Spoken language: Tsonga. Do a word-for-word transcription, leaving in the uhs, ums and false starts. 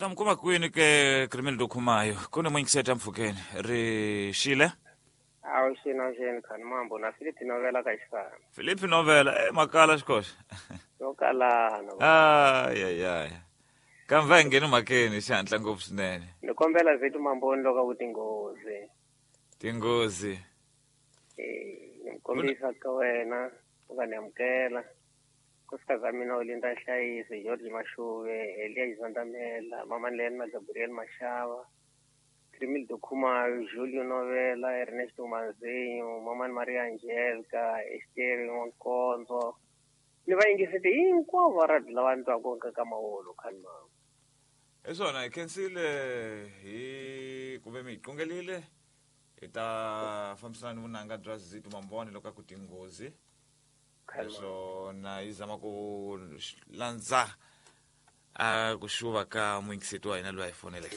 ta mi kuma kwini ke Crimildo Khumayo ku ni muyingiseti mpfhukeni ri xile Awu xini awu xini khani mambo na Philip Novela ka xifana. Philip Novela e makala xikoxa Yo kalana. ayayaya kambe a hi ngheni mhakeni xihatla ngopfu swinene Ni kombela zethu mamboni loko ku tinghozi. tinghozi Eh, ni kombisa ka wena u nga ni amukela. Nkosikazi wa mina Olinda Nhlayiso, George Mashuve, Elia Xizandamela, Mama Lena na Gabriel Mashava, Crimildo Khumalo, Julio Novela, Ernesto Manzinho, Mama Maria Angelica, Esther Nkonzo. Ni va yingisete hinkwavo va radio lava ni twaka ka mawolo khani mama. hi swona hi khensile hi kumbe mi hi qungelile hi ta fambisana ni vunanga bya Zito Mambone loko a ku tinghozi Khani mama. naswona yi zama ku landza a ku xuva ka muyingiseti wa hina loyi a hi foneleke